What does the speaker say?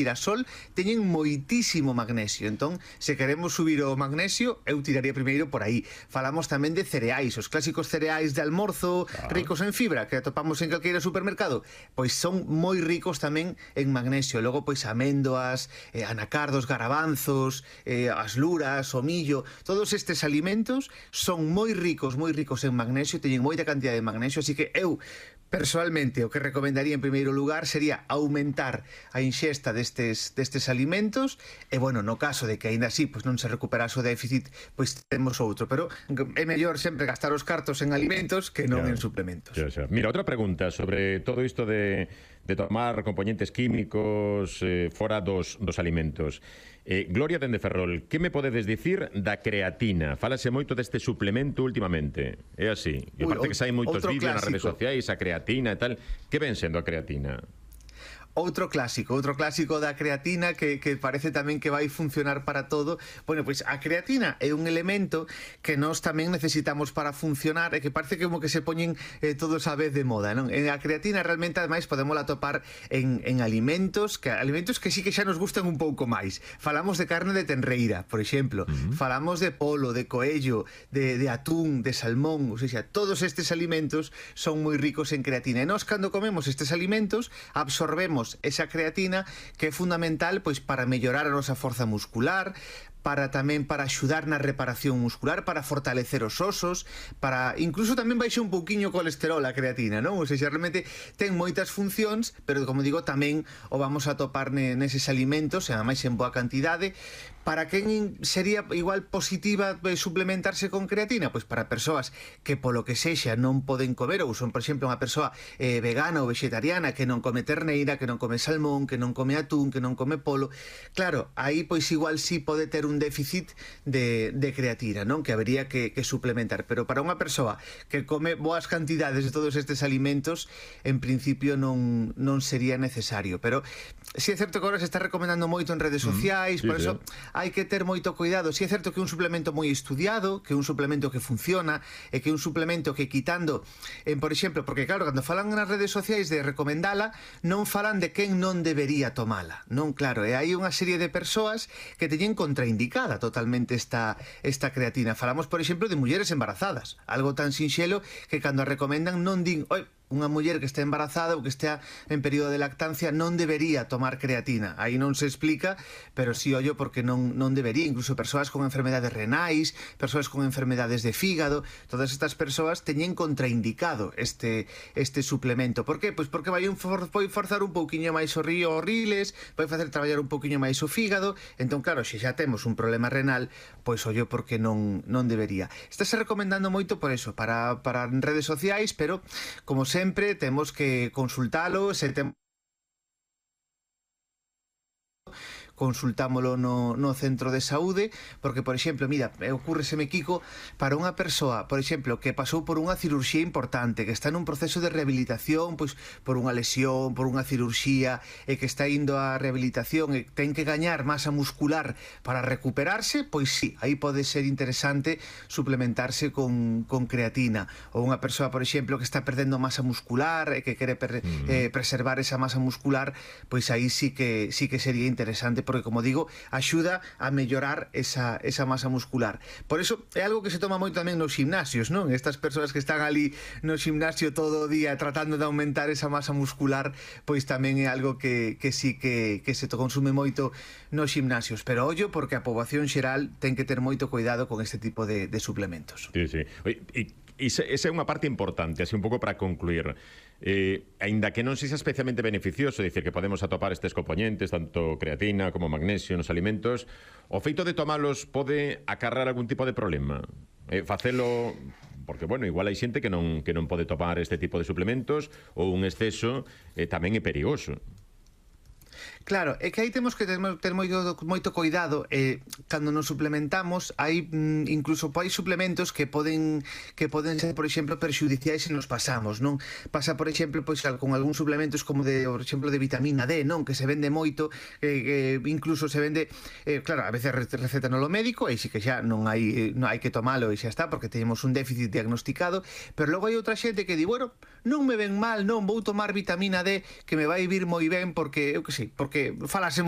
xirasol teñen moitísimo magnesio. Entón, se queremos subir o magnesio, eu tiraría primeiro por aí. Falamos tamén de cereais, os clásicos cereais de almorzo ricos en fibra que atopamos en calqueira supermercado, pois son moi ricos tamén en magnesio. Logo, pois améndoas, anacardos, garabanzos, as luras, o millo, todos estes alimentos son moi ricos en magnesio, teñen moita cantidad de magnesio, así que eu persoalmente o que recomendaría en primeiro lugar sería aumentar a inxesta destes alimentos e, bueno, no caso de que aínda así pois non se recuperase o déficit, pois temos outro, pero é mellor sempre gastar os cartos en alimentos que non en suplementos. Mira, outra pregunta sobre todo isto de tomar componentes químicos fora dos alimentos. Gloria dende Ferrol, que me podedes dicir da creatina? Fálase moito deste suplemento últimamente. É así. E aparte que saen moitos vídeos nas redes sociais, a creatina e tal. Que ven sendo a creatina? Outro clásico da creatina que parece tamén que vai funcionar para todo. Bueno, pois a creatina é un elemento que nós tamén necesitamos para funcionar e que parece como que se poñen todos a vez de moda, non? A creatina realmente, ademais, podemos atopar en alimentos que sí que xa nos gustan un pouco máis. Falamos de carne de tenreira, por exemplo. Falamos de polo, de coello, de atún, de salmón. O sea, todos estes alimentos son moi ricos en creatina. E nós, cando comemos estes alimentos, absorbemos esa creatina que é fundamental pois para mellorar a nosa forza muscular, para axudar na reparación muscular, para fortalecer os osos, para incluso tamén baixe un pouquiño o colesterol a creatina, non? Ou seja, realmente ten moitas funcións, pero como digo, tamén o vamos a topar neses alimentos, e ademais en boa cantidade. Para quen sería igual positiva suplementarse con creatina? Pois para persoas que polo que sexa non poden comer, ou son, por exemplo, unha persoa vegana ou vegetariana que non come terneira, que non come salmón, que non come atún, que non come polo. Claro, aí pois igual sí pode ter un déficit de creatina, non? Que habería que suplementar. Pero para unha persoa que come boas cantidades de todos estes alimentos, en principio non sería necesario. Pero si é certo que agora se está recomendando moito en redes sociais, por eso hai que ter moito cuidado. Si é certo que é un suplemento moi estudiado, que é un suplemento que funciona, e que é un suplemento que quitando, por exemplo, porque claro, cando falan nas redes sociais de recomendala, non falan de quen non debería tomala, non? Claro, e hai unha serie de persoas que teñen contraindicada totalmente esta creatina. Falamos, por exemplo, de mulleres embarazadas, algo tan sinxelo que cando a recomendan non din, oi, unha muller que está embarazada ou que estea en período de lactancia non debería tomar creatina. Aí non se explica, pero sí ollo porque non debería. Incluso persoas con enfermedades renais, persoas con enfermedades de fígado, todas estas persoas teñen contraindicado este suplemento. Por qué? Pois porque vai forzar un pouquiño máis o río os riles, vai facer traballar un pouquiño máis o fígado. Entón, claro, se xa temos un problema renal, pois ollo porque non debería. Estáse recomendando moito por eso, para redes sociais, pero como sempre temos que consultalo, se temos consultámolo no centro de saúde, porque, por exemplo, mira, ocurreseme, Kiko, para unha persoa, por exemplo, que pasou por unha cirurxía importante, que está nun proceso de rehabilitación, pois por unha lesión, por unha cirurxía, e que está indo á rehabilitación e ten que gañar masa muscular para recuperarse, pois sí, aí pode ser interesante suplementarse con creatina. Ou unha persoa, por exemplo, que está perdendo masa muscular e que quere preservar esa masa muscular, pois aí sí que sería interesante, porque, como digo, axuda a mellorar esa masa muscular. Por eso é algo que se toma moito tamén nos gimnasios, non? Estas persoas que están ali no gimnasio todo o día tratando de aumentar esa masa muscular, pois tamén é algo que sí que se consume moito nos gimnasios. Pero ollo, porque a poboación xeral ten que ter moito cuidado con este tipo de suplementos. Sí, sí. Esa é unha parte importante, así un pouco para concluir. Aínda que non sexa especialmente beneficioso, dicir que podemos atopar estes componentes, tanto creatina como magnesio nos alimentos, o feito de tomalos pode acarrar algún tipo de problema? Facelo, porque, bueno, igual hai xente que non pode tomar este tipo de suplementos, ou un exceso tamén é perigoso. Claro, é que aí temos que ter moito cuidado. Cando nos suplementamos, hai incluso hai suplementos que poden ser, por exemplo, perxudiciais se nos pasamos, non? Pasa, por exemplo, pois con algúns suplementos como por exemplo, de vitamina D, non? Que se vende moito, incluso se vende, claro, a veces receta no lo médico, e si que xa non hai que tomalo e xa está, porque teñemos un déficit diagnosticado, pero logo hai outra xente que di, bueno, non me ven mal, non vou tomar vitamina D que me vai vir moi ben porque, eu que sei, porque falase